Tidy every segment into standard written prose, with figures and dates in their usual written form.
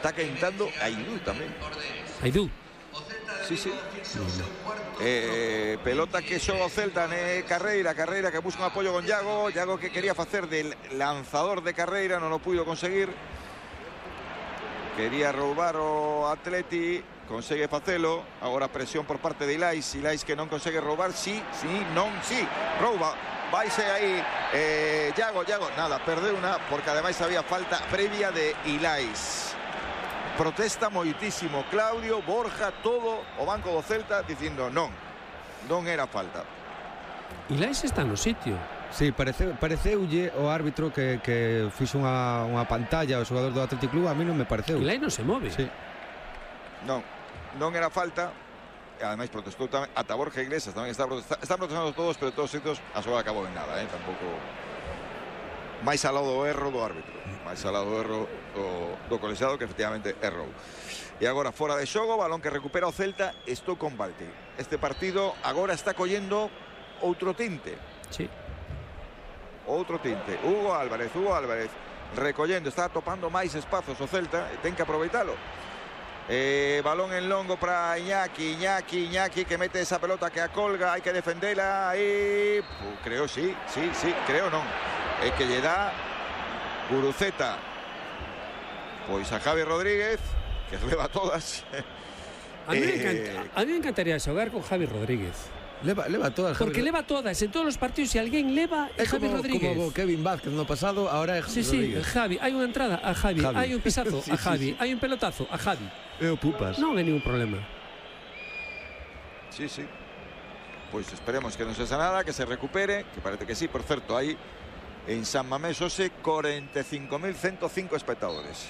está calentando Aidú también. Aidú. Sí, sí. Pelota que xoga o Celta Carreira que busca un apoyo con Iago que quería facer del lanzador de Carreira, non o puido conseguir. Quería roubar o Atleti, consegue facelo. Agora presión por parte de Ilais que non consegue roubar, sí, rouba. Vaise aí Iago, nada, perdeu unha, porque ademais había falta previa de Ilais. Protesta moitísimo Claudio, Borja, todo o banco do Celta dicindo non era falta. Ilais está no sitio. Sí, pareceulle o árbitro que fixo unha pantalla ao xogador do Athletic Club. A mí non me pareceu. Ilais non se move. Sí. Non era falta. E ademais protestou tamén ata Borja Iglesias, tamén están protestando todos, pero todos estos a xoga acabou en nada, tampouco. Máis ao lado do erro do árbitro, máis ao lado do erro do colexiado, que efectivamente errou. E agora fora de xogo, balón que recupera o Celta. Estou con Balti. Este partido agora está collendo outro tinte. Sí. Outro tinte. Hugo Álvarez recollendo, está topando máis espazos o Celta e ten que aproveitalo. Balón en longo para Iñaki que mete esa pelota que acolga, hai que defendela aí. Creo creo non. É que lle dá Guruceta pois a Javi Rodríguez, que leva todas. A mí me encantaría xogar con Javi Rodríguez. Leva todas. Porque leva todas en todos os partidos. Se alguén leva é Javi Rodríguez. Como Kevin Vázquez no pasado, ahora é Javi Rodríguez. Sí, Javi. Hai unha entrada a Javi. Hai un pisazo a Javi. Hai un pelotazo a Javi. Pupas. Non hai ningún problema. Sí. Pois esperemos que non sexa nada, que se recupere, que parece que sí. Por certo, hai en San Mamés hoxe 45.105 espectadores.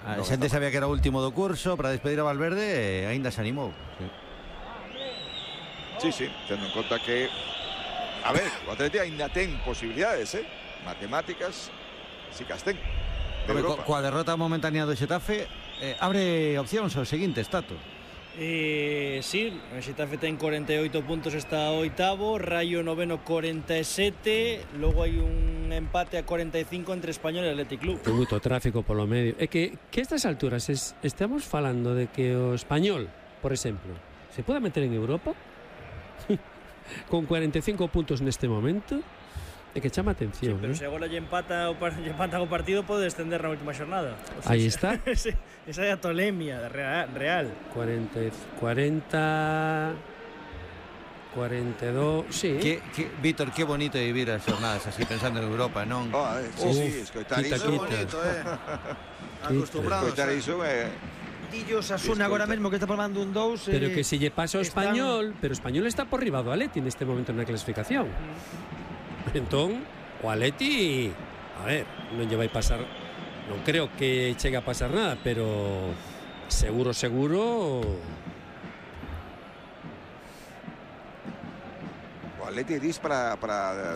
A xente sabía que era o último do curso para despedir a Valverde e aínda se animou. Sí, tendo en conta que a ver, o Atleti aínda ten posibilidades, matemáticas, si que as ten. Coa derrota momentánea do Xetafe abre opcións ao seguinte, Tato. Sí, o Xetafe ten 48 puntos, está oitavo, Rayo noveno 47, logo hai un empate a 45 entre Español e Athletic Club. Ten moito tráfico polo medio. É que estas alturas estamos falando de que o Español, por exemplo, se pode meter en Europa con 45 puntos neste momento. É que chama atención. Sí, pero se agora lle empata o partido, pode descender na última xornada. O sea, aí está. Esa é a tolemia real. 42, sí. Víctor, que bonito é vivir as xornadas así pensando en Europa, non? Sí, escoitar iso. Bonito, acostumbrados. Escoitar iso Dillos Asuna agora mesmo que está formando un 2. Pero que se lle pasa ao Español, pero o Español está por riba do Atleti neste momento na clasificación. Entón, o Atleti, a ver, non lle vai pasar, non creo que chegue a pasar nada, pero seguro o Atleti dis para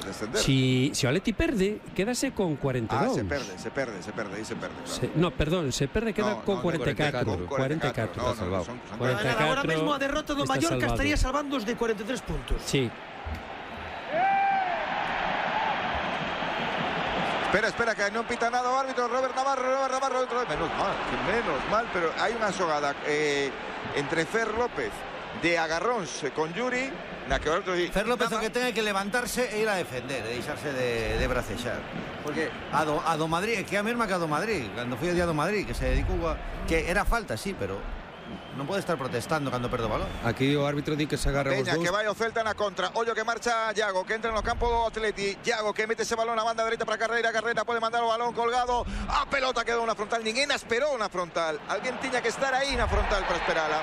descender. Si o Atleti perde, quédase con 42. Se perde, claro. No, perdón, se perde, queda con 44. 44. Agora mesmo a derrota do Mallorca estaría salvando os de 43 puntos. Sí. Espera, que non pita nada o árbitro. Robert Navarro, menos mal, pero hai unha xogada entre Fer López de agarróns con Yuri, na que o árbitro di... Fer López o que ten que levantarse e ir a defender, e deixarse de bracexar. Porque a do Madrid, que é a mesma que a do Madrid, cando foi o día do Madrid, que se dedicou a... que era falta, sí, pero non pode estar protestando cando perde o balón. Aquí o árbitro di que se agarra os dous. Que vai o Celta na contra. Ollo que marcha Iago, que entra no campo do Atleti. Iago que mete ese balón a banda dereita para Carreira pode mandar o balón colgado. A pelota quedou na frontal. Ninguén esperou na frontal. Alguén tiña que estar aí na frontal para esperala.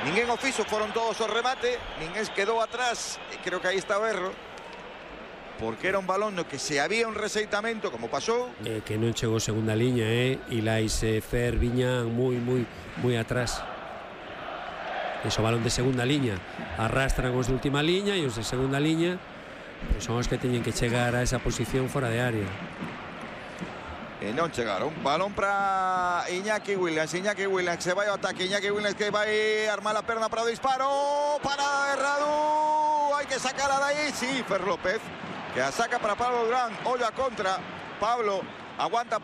Ninguén o fixo, foron todos o remate. Ninguén quedou atrás. E creo que aí está o erro. Porque era un balón no que se había un reseitamento, como pasou. Que non chegou segunda liña, Ilais e Fer viñan moi atrás. Ese balón de segunda liña arrastran os de última liña e os de segunda liña pues son os que teñen que chegar a esa posición fora de área. E non chegaron. Balón para Iñaki Williams se vai ao ataque. Iñaki Williams que vai armar a perna para o disparo. Para Erradu, hai que sacarla de aí. Sí, Fer López que a saca para Pablo Durán. Ollo a contra. Pablo aguanta